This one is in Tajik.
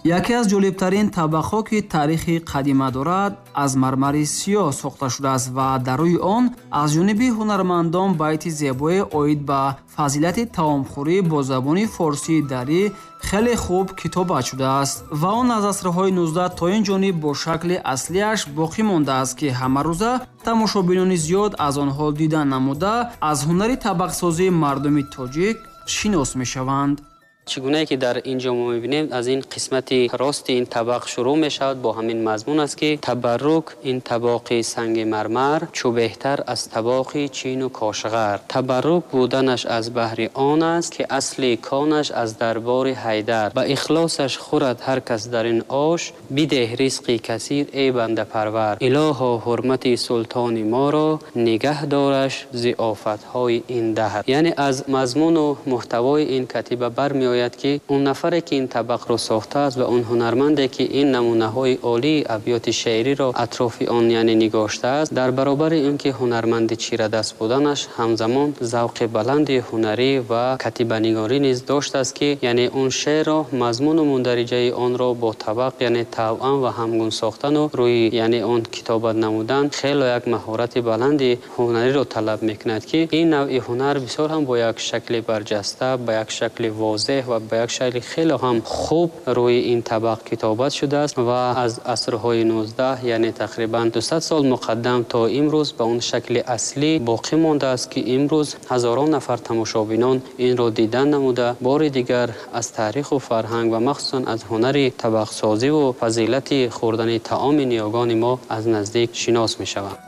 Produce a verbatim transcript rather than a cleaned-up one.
Яке аз ҷолибтарин табақҳо, ки таърихи қадима дорад, аз мармари сиёҳ сохта шудааст ва дар рӯи он аз ҷониби ҳунармандон байти зебое оид ба фазилати таомхӯрӣ бо забони форсии дарӣ хеле хуб китобат шудааст ва он аз асрҳои нуздаҳ то ин ҷониб бо шакли аслиаш боқӣ мондааст, ки ҳамарӯза тамошобинони зиёд аз онҳо дидан намуда аз ҳунари табақсозии мардуми тоҷик шинос мешаванд. Чӣ гунае ки дар ин ҷо мо мебинем, аз ин қисмати рости ин табақ шурӯъ мешавад бо ҳамин мазмун аст, ки табаррук ин табоқи санги мармар, чу беҳтар аз табоқи чину кошғар. Табаррук буданаш аз баҳри он аст, ки асли конаш аз дарбори Ҳайдар. Ба ихлосаш хӯрад ҳар кас дар ин ош, бидеҳ ризқи касир эй бандапарвар. Илоҳо ҳурмати султони моро нигаҳ дораш зи офатҳои ин даҳр. Яъне аз мазмуну муҳтавои ин катиба бармеояд, ки он нафаре ки ин табақро сохтааст ва он ҳунарманде ки ин намунаҳои олии абёти шеъриро атрофи он яъне нигоштааст, дар баробари ин ки ҳунарманди чирадаст буданаш, ҳамзамон завқи баланди ҳунарӣ ва катибанигорӣ низ доштааст, ки яъне он шеърро, мазмуну мундариҷаи онро бо табақ яъне тавъам ва ҳамгун сохтану рӯи яъне он китобат намудан хело як маҳорати баланди ҳунариро талаб мекунад, ки ин навъи ҳунар бисёр ҳам бо як шакли барҷаста, ба як шакли возеҳ ва ба як шакли хеле ҳам хуб рӯи ин табақ китобат шудааст ва аз асрҳои нуздаҳ яъне тақрибан дусад сол муқаддам то имрӯз ба он шакли аслӣ боқӣ мондааст, ки имрӯз ҳазорон нафар тамошобинон инро дидан намуда бори дигар аз таъриху фарҳанг ва махсусан аз ҳунари табақсозиву фазилати хӯрдани таоми ниёгони мо аз наздик шинос мешаванд.